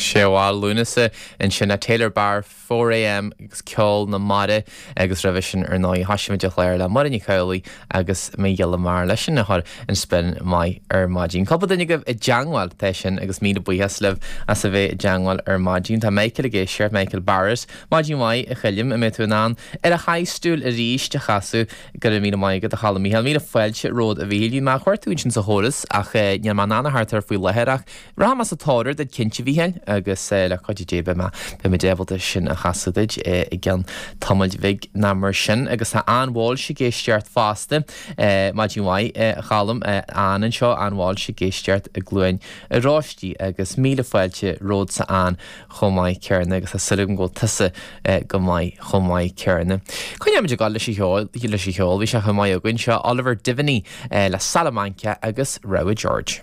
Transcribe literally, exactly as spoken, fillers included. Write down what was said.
Séú Lúnasa ansin a Taylor Barr four A M agus ceol na mara, agus roimhe sin ar ndóigh thosaigh muid an clár le Máire Ní Chabhlaigh agus Mo Ghiolla Mear leis sin a chur in spin maith ar maidin. Cúpla duine agaibh i dteagmháil tá sin agus míle buíochas libh as a bheith i dteagmháil ar maidin. Tá Michael ag éisteacht, Michael Barrett. Maidin mhaith, a Choilm, an mbeidh tú in ann Ar a Chaith Stiúil Arís a chasadh? Go raibh míle maith agat, a Cholm Mícheál. Míle fáilte romhat, a Mhíchíl. Bhí mé a chuir tú ansin sa chóras ach níl mé in ann a theacht air faoi láthair ach rachaidh mé sa tóir air duit cinnte, a Mhíchíl, agus le cuidiú Dé beidh mé beidh muid ábalta sin a chasadh duit i gceann tamaill bhig ná mar sin. Agus tá Ann Walsh ag éisteacht fosta. Maidin mhaith, a Cholm. Ann anseo, Ann Walsh ag éisteacht i gCluain Oráistí agus míle fáilte romhatsa, Ann, chomh maith céanna agus tá súil agam go bhfuil tusa go maith chomh maith céanna. Coinneoimid ag dul leis an cheol leis an cheol, bhí sé chomh maith againn seo Oliver Diviney le Salamanca agus Rogha George.